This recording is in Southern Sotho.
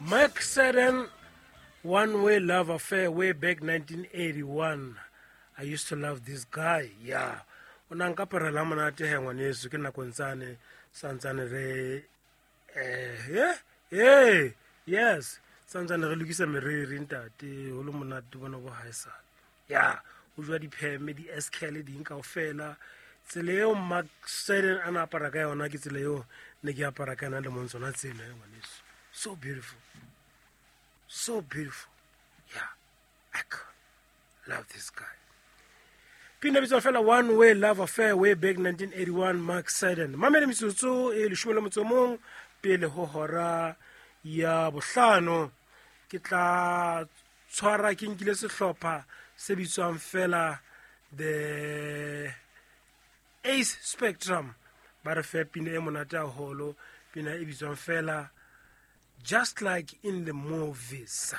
Mark Seddon, One Way Love Affair, way back 1981. I used to love this guy. Yeah. O na nka parela monate he ngwaneso ke nako ntsane santsane re eh eh yes santsane re lokisa meriri ntate ho le monate bona bo haesale. Ya o jwa dipheme di SKL ding kaofela. Tsela eo Mark Seddon a na apara ka yona ke tsela eo ne ke apara ka yona le mong tsona tsena ngwaneso. So beautiful. So beautiful. Yeah. I love this guy. Pina bitswa fela One Way Love Affair, way back 1981, Mark Seddon. Mamele metsotso e leshome le motso mong pele ho hora ya bohlano. Ke tla tshwara ke nkile sehlopha se bitswang fela The Ace Spectrum. Ba re fe pina e monate haholo, pina e bitswang fela Just Like in the Movies.